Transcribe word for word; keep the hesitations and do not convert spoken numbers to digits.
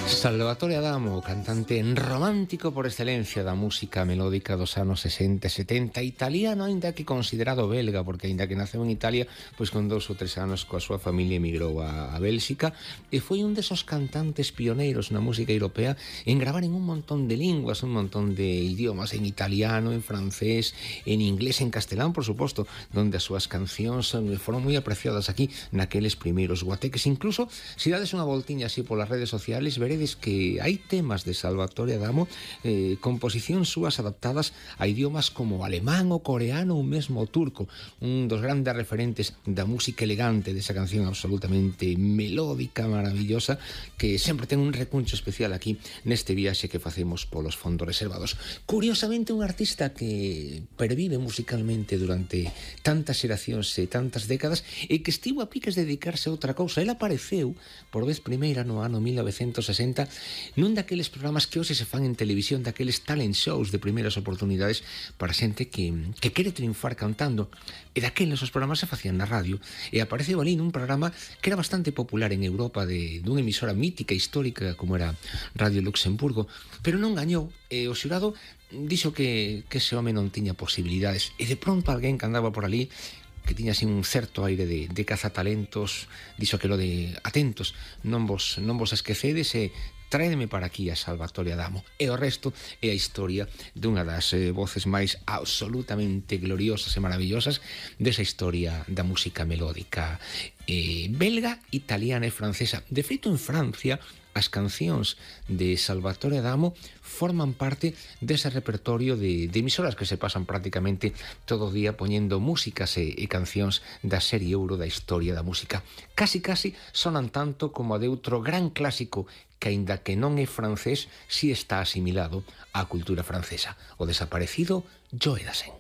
Salvatore Adamo, cantante romántico por excelencia da música melódica dos anos sesenta e setenta, italiano, aínda que considerado belga, porque aínda que naceu en Italia, pois con dous ou tres anos coa súa familia emigrou a, a Bélxica, e foi un desos cantantes pioneiros na música europea en gravar en un montón de linguas, un montón de idiomas, en italiano, en francés, en inglés, en castelán, por suposto, donde as súas cancións foron moi apreciadas aquí naqueles primeiros guateques. Incluso, se dades unha voltiña así polas redes sociales, veredes que hai temas de Salvatore Adamo, eh, composicións súas adaptadas a idiomas como alemán ou coreano ou mesmo turco, un dos grandes referentes da música elegante desa canción absolutamente melódica, maravillosa, que sempre ten un recuncho especial aquí neste viaxe que facemos polos fondos reservados. Curiosamente, un artista que pervive musicalmente durante tantas xeracións e tantas décadas e que estivo a piques de dedicarse a outra cousa. El apareceu por vez primeira no ano mil novecentos e sesenta nun daqueles programas que hoxe se fan en televisión, daqueles talent shows de primeiras oportunidades para xente que, que quere triunfar cantando, e daqueles os programas se facían na radio, e apareceu ali nun programa que era bastante popular en Europa, de dunha emisora mítica histórica como era Radio Luxemburgo, pero non gañou, e o xurado dixo que, que ese home non tiña posibilidades, e de pronto alguén que andaba por ali que tiña así un certo aire de, de cazatalentos, dixo aquilo de atentos, non vos, non vos esquecedes, e tráedeme para aquí a Salvatore Adamo. E o resto é a historia dunha das eh, voces máis absolutamente gloriosas e maravillosas desa historia da música melódica eh, belga, italiana e francesa. De feito, en Francia, as cancións de Salvatore Adamo forman parte dese repertorio de, de emisoras que se pasan prácticamente todo o día poñendo músicas e, e cancións da serie ouro da historia da música. Casi, casi sonan tanto como a de outro gran clásico que, aínda que non é francés, si está asimilado á cultura francesa, o desaparecido Joe Dassin.